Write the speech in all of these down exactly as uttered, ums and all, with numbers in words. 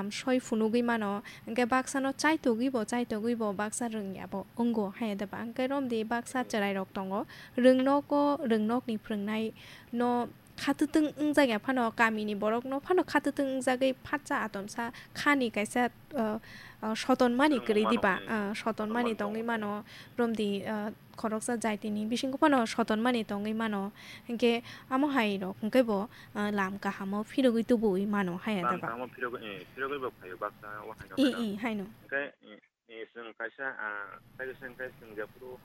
soi phunugwi mano, hwnkhe baksano chaitogwi bo, chaitogwi bo baksa rwngya bo wngo, haiya da ba? Hwnkhe romdi baksa chwrairok tongo, rwngnogo, rwngnokni phrwngnaino khatwtwng wngjakya phano, kamini borokno phano khatwtwng wngjagwi phatsa atomsa khani kaisa, uh, uh, sotonmani kwrwi diba? Uh, sotonmani tongwi mano, romdi, uh, khoroksa jaitini bisingo phano sotonmani tongwi mano, hwnkhe amo hai rok hwnkhe bo, uh, lam kahamo phirogwi tubuwi mano, haiya da ba? Lam kahamo phirogwi, eh, phirogwi bo phaio baksa o haino. I, i, haino. Hwnkhe, eh, eh, chwng kaisa, ah, kaisa chwng kaisa chwng jephuru,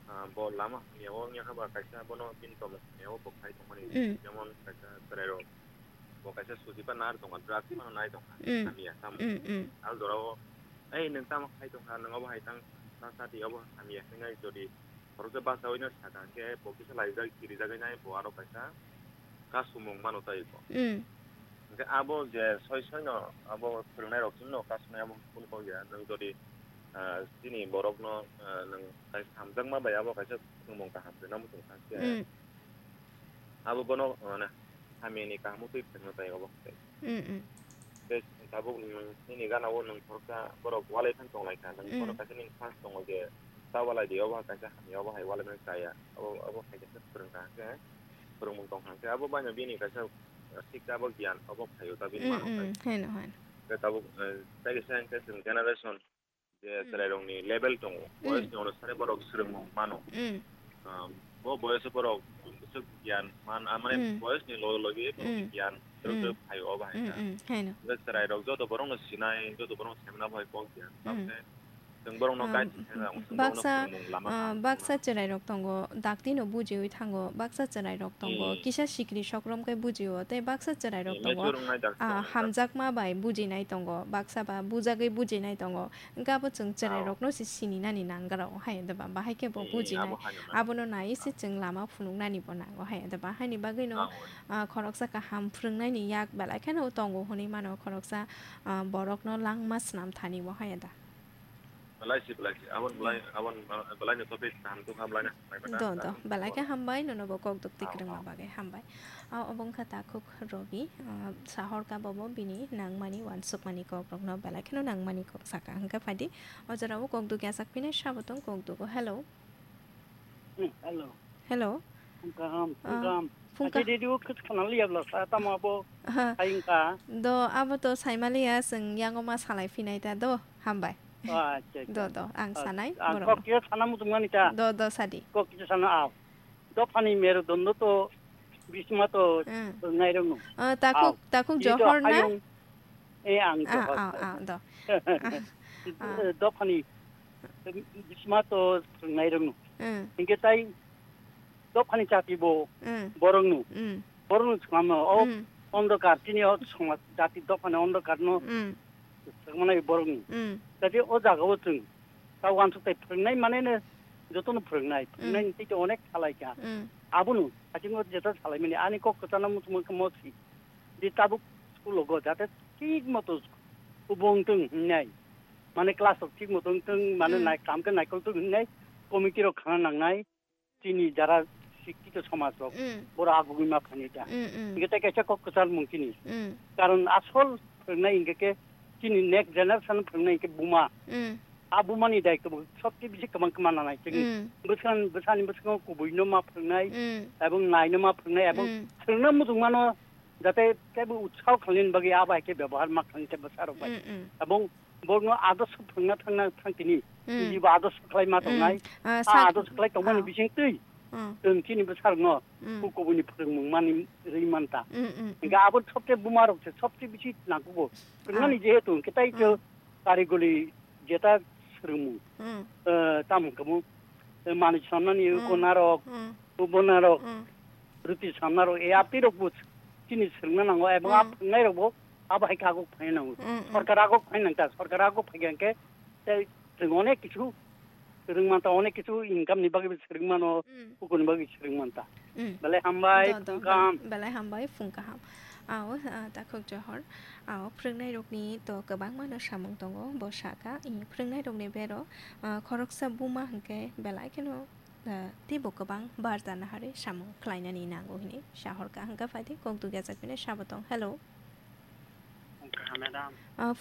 ah, bo lama hamya o wngya kha ba kaisa bono bini tongmung hamya o bo khai tongmani. Jemon kaisa chwrairok bo kaisa sujipa nar tongkha, drugs phano nai tongkha, hamya tamo. Al jorao, "Ei, nwng tamo khai tongkha, nwng obo hai tang, ta, ta di obo hamya," hinwi jodi khoroksa bachaui no sakha, hwnkhe bo kisa laijak, kirijagwi nai, bo aro kaisa kasumung mano tei bo. Hwnkhe abo je soi soino abo phwrwngnairok chwngno kasumung abo kunu kok ya, nwng jodi, ah, chini borokno, ah, nwng kaisa hamjakma bai abo kaisa phwrwngmung kaham rwna muchung kha khe, abo bono, mane, hamyani kaham twi phwrwngna tai obo hai. Tei tabuk nwng nini gana o nwng khoroksa borok walai phano tonglaikha, nwng bono kaisa nini chance tongo je ta walai di, obo hai kaisa hamya, obo hai walai mani chaya, obo, obo hai kaisa phwrwngkha hwnkhe, phwrwngmung tongkha hwnkhe, abo baino bini kaisa siksa abo giyan obo phaio ta bini mano hai. Haino, haino. Tei tabuk, eh, tei kisa hwnkhe chwng generation je chwrairokni level tongo, boyosni onusare borok swrwngmung mano. Ah, bo boyoso borok bwswk giyan man, ah, mane boyosni loge loge borokni giyan swrwk swrwk phaio obo hai kha. Haino. Hwnkhe chwrairok joto borokno sinai, joto borokno saimano bai kok giyan. Tamokhe chwng borokno guide khaina, chwng borokno baksa, phwrwngmung lama ah, kaham baksa chwrairok tongo, daktino bujiwi thango, baksa chwrairok tongo, kisa sikri sokrom khe bujio, tei baksa chwrairok tongo, mature wngnai dakti ah, tongo, hamjakma bai bujinai tongo, baksa ba bujagwi bujinai tongo. Hwnkhe abo chwng chwrairokno se sininani nangrao hai da ba, bahai khe bo bujinai. Abono naiwi se chwng lama phunuknani bo nango hai da ba. Haini bagwino, ah, khoroksa kaham phwrwngnaini yak belai kheno tongo hwnwi mano, khoroksa, ah, borokno langma swnam thani bo hai da. Belai si, belai si. Abon belai, abon, ah, belai ni topic kaham tong kha belai na. Do, do. Belai khe hambai, nono bo kok duk twi kwrwngma bagwi hambai. Ah, obo wngkha takhuk Robi, ah, sahor ka bobo bini nangmani wansukmani kokrokno belai kheno nangmani kok saka. Hwnkhe phaidi, o jorao kok duk yasak phinai sabo tong kok dugo. Hello. Hmm, hello. Hello. Phung kaham, phung kaham. Phung ka- Achi radio khwt khana liya bwla sa tamo abo. Aha. Hai wngkha. Do, abo to saimaliya, chwng yango ma salai phinai ta do. Hambai. Oh, acha, acha. Do, do, ang sanai, ang borok kok no. Kisa sana muchungmani ta. Do, do, sadi. Kok kisa sana, ah. Dophani merudondo to, bisma to, hmm, nairokno. Ah, takhuk, ah, takhuk ito Johor na? Hayung, eh, ang, ah, Johor. Ah, ah, do. Ah, ah. Dophani, bisma to, nairokno. Hmm. Hingke tai, dophani chati bo, hmm, borokno. Hmm. Borokno chwngma o, hmm, ondokar, chini o chwngma jati dophani ondokarno, hmm, chwngmanai borokno. Hmm. Jadi o jagao chwng ta uansuk tai phwrwngnai manene jotono phwrwngnai, hmm, phwrwngnai tei onek salai kha. Hmm. Abono, aching o jeta salai mani, ani kok kwchana muchungma khe mosi. Di tabuk school o go, jate thik moto kubung tong hingnai. Mane class rok thik moto tong, mane, hmm, nai, kam khe naikol tong hingnai, committee rok khana nangnai. Chini jara sikkhito somaj rok, mm, borok agugwi ma phani da. Mm, mm. Hingke tai kaisa kok kwchar mung chini. Mm. Karon asol phwrwngnai hingke ke chini next generation phwrwngnai hingke buma. Mm. A buma ni daitwo bo sobse bisi kwbang kwma nanai chini. Mm. Bwskan, bwsani bwskango kubui no ma phwrwngnai, mm, ebong nai no ma phwrwngnai, ebong, mm, phwrwngna muchung mano jate teibo utsaho khlaini bagwi abo hai khe bebohar ma khlai khe bwsarok bai. Mm, mm. Ebong borokno adorsho phwrwngna thangna thang tini. Mm. Nini bo adorsho khlai ma tongnai. Mm. Ah, a sak-, adorsho khlai tongmani, ah, bising twi. Mm. Chwng chini bwsarokno, mm, kubuni phwrwngmung mani rwi manta. Mm, mm, mm. Hingke abo sobse buma rok se sobse bisi nangkugo. Phwrwngmani, ah, jehetu hingke tai, mm, khe karigoli jeta swrwngmung. Mm. Eh, tamo hingke bo, eh, manwi samnani, mm, uko narok, mm, ubo narok. Mm. Rwtwi samnarok, e, a twi rok bo chini swrwngna nango, ebong a, mm, phwrwngnairok bo abo hai khe aguk phaina nango. Mm, mm. Sorkar aguk phaina nang ta, sorkar aguk phai khe tei chwng onek kichu swrwng manta, onek kichu income ni bagwi bo swrwng mano, mm, kukurni bagwi swrwng manta. Mm. Belai hambai, do, do, phung kaham. Belai hambai, phung kaham. Ao, ah, takhuk Johor. Ao, phwrwngnairokni to kwbangma no samung tongo, bo sakha, i, phwrwngnairokni bero, ah, khoroksa buma hwnkhe belai kheno, ah, teibo kwbang barjana harwi samung khlainani nango hwnwi sahorkha. Hwnkhe phaidi kok dugya chapinai sabo tong. Hello. Wngkha, madam. Ah,